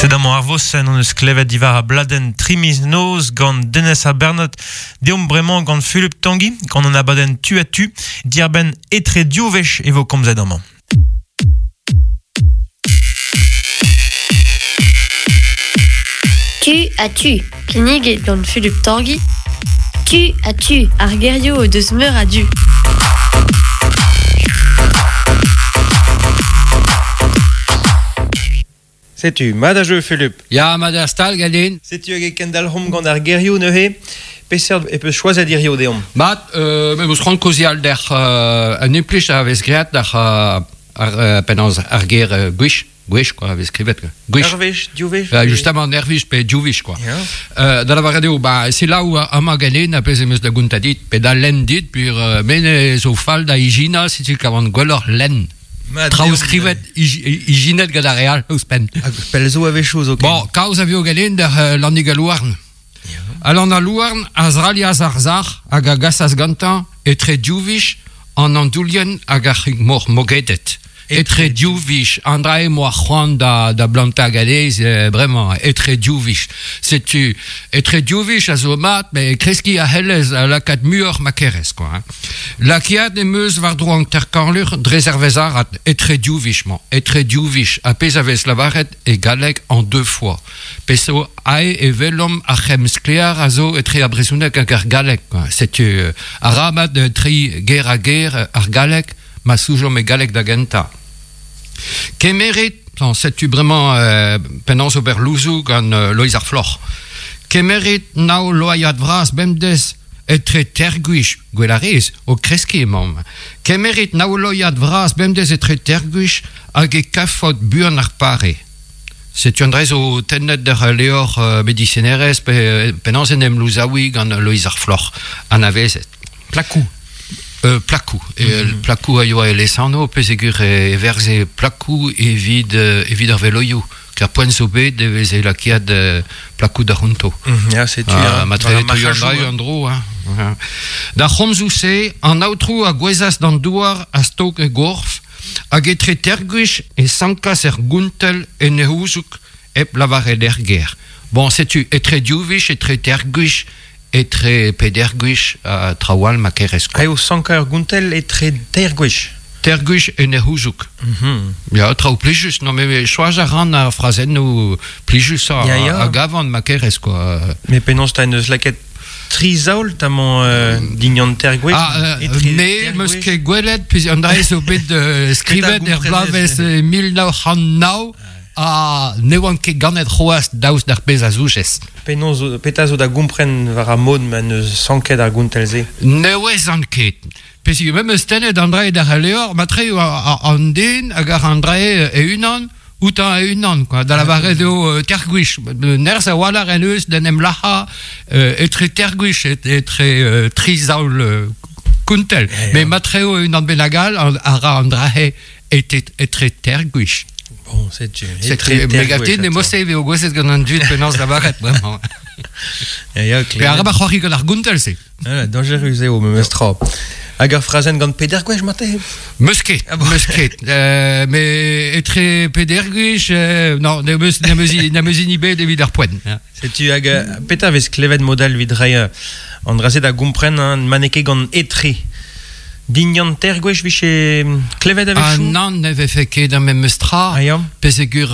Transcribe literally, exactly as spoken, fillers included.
Sed amañ ar vosenn hon eus klevet diwar a bladenn tri miz noz gant Denez ha Bernot deomp bremañ gant Fulup Tanguy gant an abadenn tu a tu diarbenn etre div wech e vo komzet amañ. Tu a tu. Kinniget gant Fulup Tanguy. Tu a tu. Ar gerioù o deus meur a du. Setu, mat a jeu, Fulup. Ya, mat a stal, ganin. Setu hag e kendalc'homp gant ar gerioù neuze. Peseurt e peus choazet hirio deomp. Mat, euh, me meus c'hoant kaozeal d'ar euh, un implij a vez graet d'ar ar, ar, penaos ar ger euh, gwech, gwech, quoi, a vez skrivet. Gwech. Ur wech, div wech. Euh, justement, ur wech pe div wech, quoi. Ya. Euh, da lavaret eo, ba, c'est là où amañ ganin a pezh em eus da gontañ dit, pe da lenn dit, pur euh, men zo fall da ijina, setu kavan gwelloc'h lenn. Traoù skrivet ijinet gant ar real ouzhpenn. Hag pell zo a-wechoù zo ken. Bon, kaoz a vio ganin d'ar uh, Lannig al Louarn. Yeah. Alan al Louarn a zralias ar zar hag a gasas gantañ etre div wech an andoulien hag ar c'hig-mor mogedet. Etre div wech, an dra eo moa c'hoant da, da blantañ gadez, euh, bremañ, etre div wech. Setu, etre div wech a zo mat, met kreskiñ a c'hellez a lakaat muioc'h ma kerez, quoi. Hein. Lakiat em eus war-dro an terkanlur dre zervez arat, etre div wech-mañ, etre div wech, a pezh a vez lavaret e galleg en deux fois. Pezh zo ae e welomp ar c'hemm sklaer a zo etre ar brezhoneg hag ar galleg, quoi. Setu, euh, arabat euh, tri ger a ger ar galleg, ma soujomp e galleg da gentañ. Kemerit, setu bremañ euh, penaos ober louzoù gant euh, Loeiz ar Floc'h. Kemerit nao loaiad vras bemdez etre tergwich, gwell a rez, o kreskiñ emaomp. Kemerit nao loaiad vras bemdez etre tergwich hag e kafot buan ar pare. Setu an dra zo tennet d'ar levr euh, medisinerezh pe, penaos en em louzaouiñ gant Loeiz ar Floc'h anavezet. Plakou. Euh, plakou. E, mm-hmm. Plakou a yoa e lesanv, pezegur e verze plakou evit, evit ar veloioù. Car poent zo bet e veze lakaet euh, plakou da c'honto. Mm, ya, setu. Ah, ma tre an an dro. Hein. Da c'homzoù-se, an aotrou a gouezas d'an douar a stok e gorf, hag etre tergwech e sankas er gountel en e houzoug hep lavaret er ger. Bon, setu, etre div wech, etre tergwech, etre pedergwech a traoù all ma kerez. Ha eo sankañ ur gountel etre teir gwech. Teir gwech en e houzoug. Mm-hmm. Ya, traoù plijus. Non, mais choaz a ran ar frazennoù plijus a, Ya, ya. a gavan ma kerez, quoi. Mais penaos ta en deus lakaet tri zaol tamañ euh, dignan teir gwech. Ah, euh, etre me teir meus gwech. ket gwelet, puis an dra zo bet euh, skrivet er gomprenez. bloavezh mil nav c'hant nav ha ne oan ket ganet c'hoazh daoust d'ar pezh a zoujez. Penaos zo, petra zo da gompren war ar mod ma neus sanket ar gountel-se. Ne ouezan ket. Peseurt me meus tennet an dra d'ar levr, ma tre an den hag ar an dra e-unan, outañ e-unan, quoi. Da lavaret eo euh, tergwech. Nerzh a-walc'h en eus d'en em lac'hañ euh, etre tergwech et, etre euh, tri zaol euh, kountel. Ya, ya. Mais ma tre eo unan bennak all a ra an dra etre, etre tergwech. Bon, setu. Setu, me gav dit ne mose eo gouezet gant an dud penaos lavaret, bremañ. Ya, ya, Pe klevet. arabat c'hoari gant ar gountel-se. Ah, dañjerus eo, memes tra. Hag ar frazenn gant peder gwech mate? Meus ket, Ah bon. meus ket. Euh, mais etre peder gwech, euh, non, ne meus, ne meus, ne meus hini bet evit ar poent. Hein. Setu hag euh, petra vez klevet modal evit reiñ euh, an dra-se da gompren hein, ma n'eo ket gant etre. Dignan teir gwech vije klevet Ah a-wechoù? nann, ne vefe ket ar memes tra. Ah, ya. Pezegur